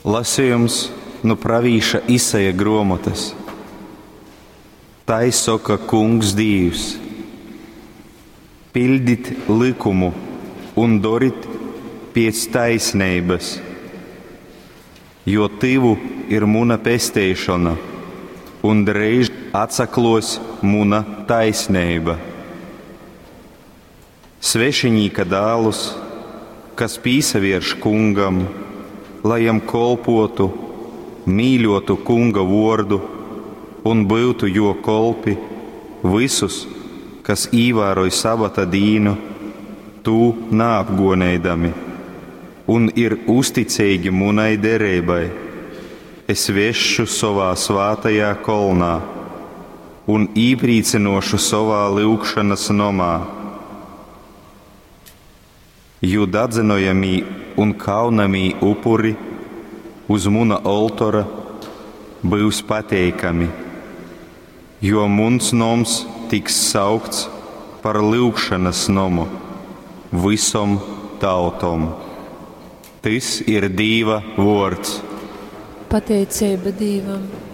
Lasījums nu pravīša Isaja gruomotys. Tai soka Kungs Dīvs: Piļdit lykumu un dorit piec taisneibys, jo tyvu ir muna pesteišona un dreiž atsakluos muna taisneiba. Svešiņīka dālus, kas pīsavierš kungam, lai jam kolpuotu, mīļuotu kunga vuordu un byutu juo kolpi, vysus, kas īvāroj sabata dīnu, tū naapguoneidami, un ir uzticeigi munai dereibai, es vesšu sovā svātajā kolnā un īprīcynuošu sovā lyugšonys nomā. Jū dadzynojamī un kaunamī upuri uz muna oltora byus pateikami, jo muns noms tiks saukts par lyugšonys nomu vysom tautom. Tys ir Dīva vuords. Pateiceiba Dīvam.